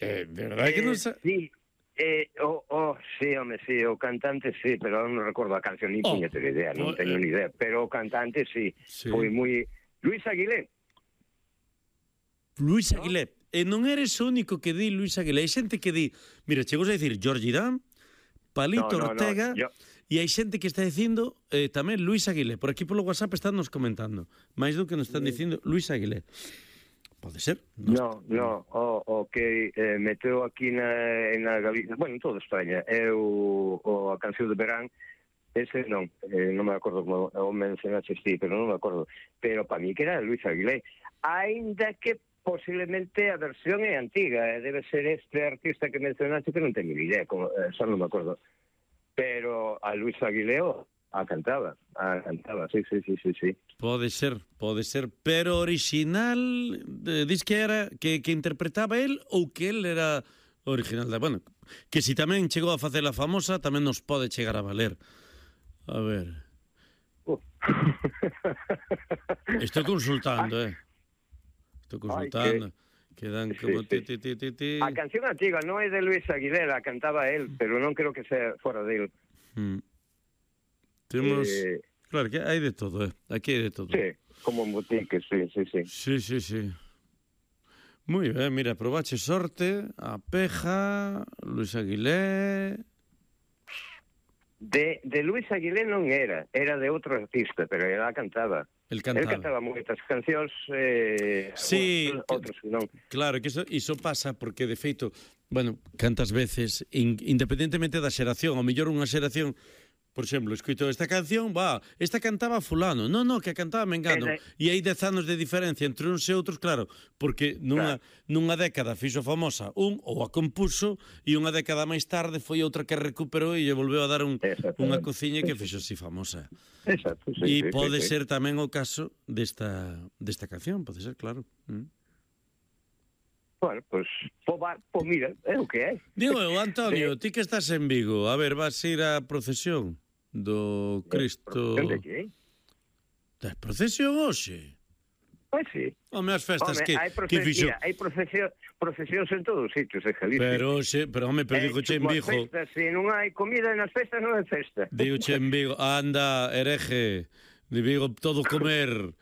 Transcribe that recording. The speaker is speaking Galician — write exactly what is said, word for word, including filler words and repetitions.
Eh, verdade que non sa... Sí, eh, oh, oh, sí, home, sí, o cantante sí, pero non recordo a canción, ni Oh, puñetera idea, non oh, teño eh. ni idea, pero o cantante sí, Sí. foi moi... Luis Aguilé. Luis ¿No? Aguilé. E non eres o único que di Luis Aguilé. Hai xente que di, mira, chegou a dicir Jorge Dan, Palito No, no, no, Ortega, yo- e hai xente que está dicindo eh, tamén Luis Aguilé. Por aquí polo WhatsApp están nos comentando. máis do que nos están dicindo Luis Aguilé. Pode ser? No, no, o, o que eh, meteu aquí na, na Galicia, bueno, en toda España, é o, o a canción de Verán, ese non, eh, non me acordo como o mencionaste ti, pero non me acordo, pero para mí que era Luis Aguilé, aínda que posiblemente a versión é antiga, eh, debe ser este artista que mencionaste que non teño ni idea, como, eh, só non me acordo, pero a Luis Aguilé oh, a cantaba, a cantaba, sí, sí, sí, sí, sí. Pode ser, pode ser, pero original, eh, dis que era que, que interpretaba el ou que el era original da, bueno, que si tamén chegou a facer a famosa, tamén nos pode chegar a valer. A ver. Uh. Estou consultando, eh. Estou consultando. Ay, que... Quedan Sí, como sí. ti, ti, ti, ti, ti. A canción antiga non é de Luis Aguilera, cantaba él, pero non creo que sea fora de él. Mm. Temos... Eh... Claro, que hai de todo, eh. Aquí hai de todo. Sí, como en botique, sí, sí, sí. Sí, sí, sí. Moi ben, mira, probache sorte, a Peja, Luis Aguilé... De, de Luis Aguilé non era, era de outro artista, pero ela cantaba. El cantaba. El cantaba moitas cancións, eh, sí, outros non. Claro, que iso, iso pasa porque, de feito, bueno, cantas veces, in, independentemente da xeración, ao mellor unha xeración, por exemplo, escoito esta canción, va, esta cantaba fulano, non, non, que cantaba Mengano, Ese... e hai dez anos de diferencia entre uns e outros, claro, porque nunha, claro. nunha década fixo famosa un ou a compuso, e unha década máis tarde foi outra que recuperou e lle volveu a dar un, unha cociña que fixo así famosa. Exacto, sí, E sí, pode sí, ser sí. tamén o caso desta, desta canción, pode ser, claro. Mm. Bueno, pois, pues, po, po, mira, é o que é. Digo eu, Antonio, sí. Ti que estás en Vigo, a ver, vas ir á procesión do Cristo... Procesión de que? Da procesión hoxe? Pois sí. Home, as festas home, que, proces... que fixo... Mira, hai procesión, procesións en todos os sitios, en Galicia. Pero, xe, pero home, pero digo che en Vigo... Festas, se non hai comida nas festas, non hai festa. Digo che en Vigo, anda, hereje, de Vigo todo comer...